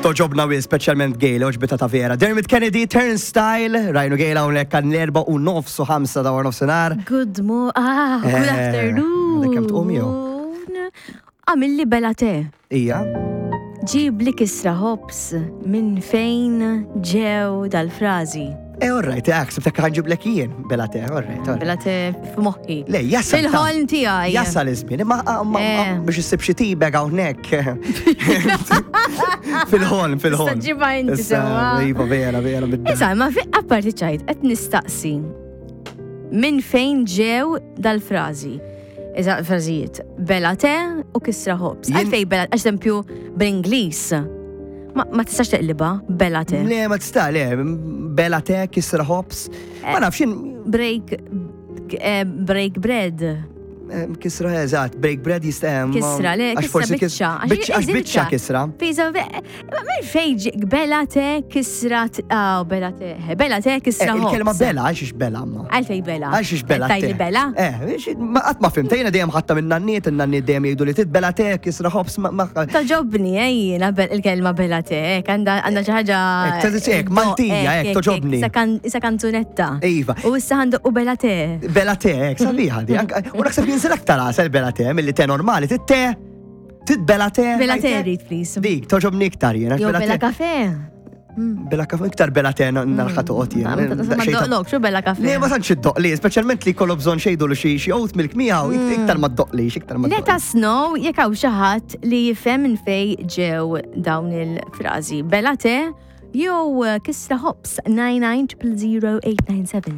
Toġobna wi, speċjalment Gail, oġbita ta' vera. Dermot Kennedy, Turnstile, Rajnu Gail hawnhekk għan 4:30 ta' nofsinhar. Good mo, ah, good Eh, afternoon. għadek kemm tqum jew? Għamilli bela te. Ija. Ġib li kisra ħobs minn fejn ġew dal-frażi. Eh, all right, eh, ksibtek ħanġiblek jien, bela te, all right, all right. Bela te f'moħħi. Le, jasal. Fil-ħolm tiegħi. Jasal iż-żmien, imma ma- Eh. biex issib xi tibeg hawnhekk. Fil-ħolm, fil-ħolm. Issa ġibha inti Issa, sewwa. Iva, vera, vera. bid- Issa, ma fi apparti ċajt, qed nistaqsi. Minn fejn ġew dal-frażi? Iza, frażijiet. Bela te u kisra ħobs. Jien- Għalfej bela, eżempju, bl-Ingliż. Ma, ma tistax teqliba, bela te. Le, ma tista' le, bela te, kisra ħobs. Ma nafx jien Break, eh, break bread. eh, kisra eżatt, break bread jista' eh, ma- Kisra, le, għax kisra forsi kis- biċċa. Biċċa, għax biċċa kisra. Fiza, ma minn fejn ġi- bela te, kisra, t- ah, bela te, bela te, Eh, kisra ħobs. Il-kelma bela, għax ix bela ma. Għalfej bela. Għax ix bela Tajli te. bela? Eh, xi- ma qatt ma fimta, jiena dejjem ħatta minn nanniet, in-nanniet dejjem jgħidu li titbela te, kisra ħobs, ma. ma- Toġobni, eh, jiena il-kelma bela te, għanda għanda xi ħaġa. Ek, ta' ek, Maltija, ek, toġobni. Isa kanzunetta. Iva. U issa għandu u bela te. Bela te, ek, sabiħa di. Anka- U naħseb jinżel aktar għasel bela te, mill-li te normali, tit-te, titbela te. Bela te, għajte. rrit, please. Dik, toġobni iktar jiena. Jew bela bela te. kafe. Bela kafe, iktar bela te narħa toqgħod Ma jiena. ma doqlok, xu bela kafe. Le, ma tantx iddoqli, speċjalment li kollu bżonn xejdu li xi xi oat milk miegħu, iktar ma ddoqlix, iktar ma Let ddoqlix. us know jekk hawn xi ħadd li jifhem minn fej ġew dawn il-frażi. Bela te jew kisra hops 9900897.